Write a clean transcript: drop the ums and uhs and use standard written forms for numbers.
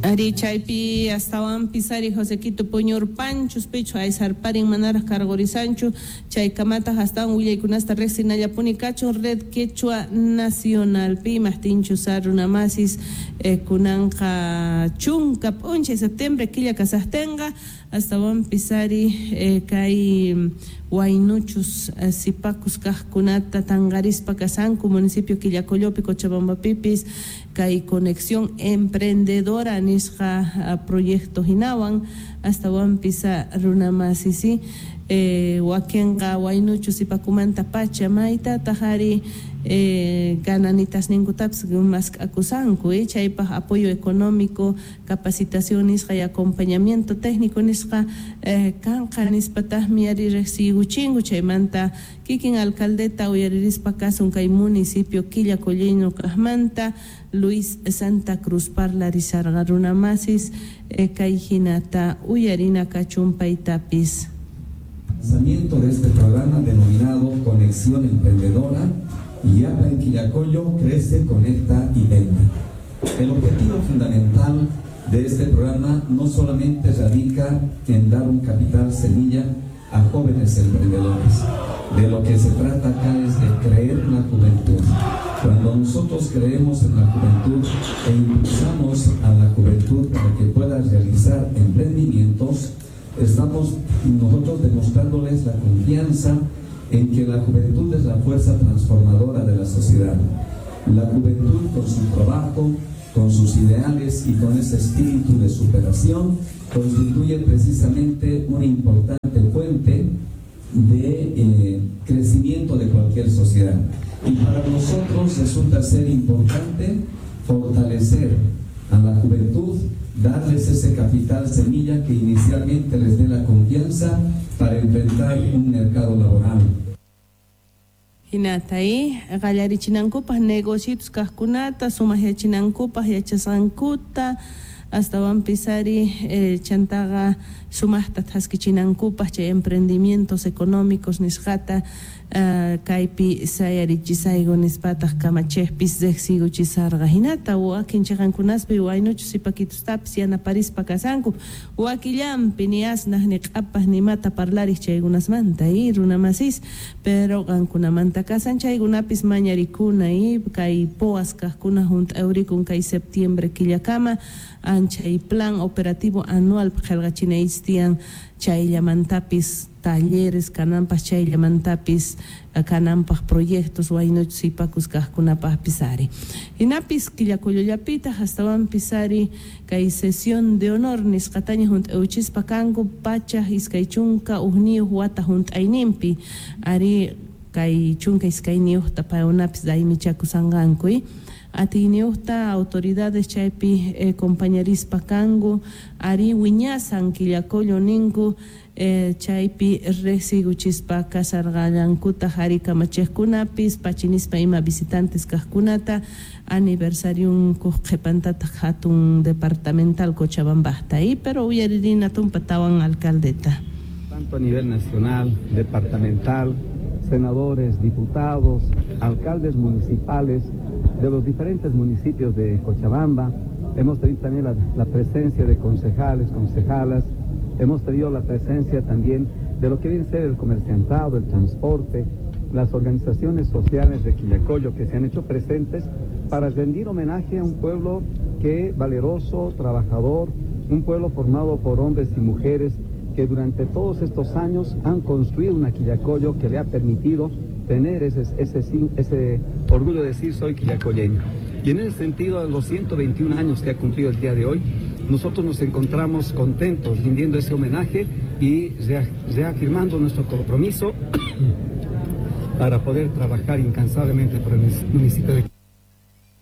Ari chaypi astawanpis ari Josequito puñurpanchus pichu aysarparin manaraj karqurisanchu chaykamataq astawan willaykunasta riqsinallapuni kachun Red Quechua Nacionalpi imaqtinchus runamasis kunanqa chunka p'unchay septiembre killa kasaqtinqa astawanpis ari kay waynuchus sipakus kaqkunata tanqarispa kasanku municipio Quillacollopi Cochabambapipis kay Conexión Emprendedora nisqa proyecto hinawan astawanpis runamasisi wakinqa waynuchus sipakumanta pacha maytataq ari gananitasninkutapis mask'akusanku chaypaq apoyo económico capacitación nisqa y acompañamiento técnico nisqa kanqa nispataqmi ari riqsiykuchinku chaymanta kikin alcaldeta uyaririspa kasun kay municipio Quillacolleño kaqmanta Luis Santa Cruz parlarisarqa runamasis kay hinata uyarina kachun paytapis. Lanzamiento de este programa denominado Conexión Emprendedora y Yapa en Quillacollo crece, conecta y vende. El objetivo fundamental de este programa no solamente radica en dar un capital semilla a jóvenes emprendedores. De lo que se trata acá es de creer en la juventud. Cuando nosotros creemos en la juventud e impulsamos a la juventud para que pueda realizar emprendimientos, estamos nosotros demostrándoles la confianza en que la juventud es la fuerza transformadora de la sociedad. La juventud con su trabajo, con sus ideales y con ese espíritu de superación constituye precisamente una importante fuente de crecimiento de cualquier sociedad. Y para nosotros resulta ser importante fortalecer a la juventud, darles ese capital semilla que inicialmente les dé la confianza para enfrentar un mercado laboral. Hinata qallarichinankupaq negocios kaqkunata sumaqyachinankupaq yachasqankuta astawanpis ari chantaqa sumaqta thaskichinankupaq chay emprendimientos económicos nisqata kaypi sayarichisayku nispataq kamachejpis riqsiykuchisarqa hinata wakin chiqankunaspi waynuchus sipakitustapis yanaparispa kasanku wakillanpi ni asnaq ni q'apaq ni mata parlariq chaykunasmanta runamasis pero qankunamanta kasan chaykunapis mañarikuna kay poas kaqkuna hunt'awrikun kay septiembre killakama anchay plan operativo anual qillqachinaychis tiyan chayllamantapis talleres kananpaq chayllamantapis kananpaq proyectos waynuchus sipakus kaqkunapaqpis ari hinapis Quillacollollapitaq astawanpis ari kay sesión de honor nisqataña hunt'awchispa kanku pachaq 21 wata hunt'ayninpi ari kay 12 paykunapis raymichakusanqanku atiyniyuqta autoridades chaypi compañerispa kanku ari wiñasan Quillacollo ninku chaypi riqsiykuchispa kasarqallankutaq ari kamachiqkunapis pachinispa ima visitantes kaqkunata aniversariunkuq qhipantataq hatun departamental Cochabambajta pero uyaririna tumpa tawan alcaldeta. Tanto a nivel nacional, departamental, senadores, diputados, alcaldes municipales de los diferentes municipios de Cochabamba. Hemos tenido también la presencia de concejales, concejalas. Hemos tenido la presencia también de lo que viene a ser el comerciantado, el transporte, las organizaciones sociales de Quillacollo que se han hecho presentes para rendir homenaje a un pueblo que valeroso, trabajador, un pueblo formado por hombres y mujeres que durante todos estos años han construido una Quillacollo que le ha permitido tener ese orgullo de decir soy quillacolleño. Y en ese sentido, a los 121 años que ha cumplido el día de hoy, nosotros nos encontramos contentos rindiendo ese homenaje y reafirmando nuestro compromiso para poder trabajar incansablemente por el municipio de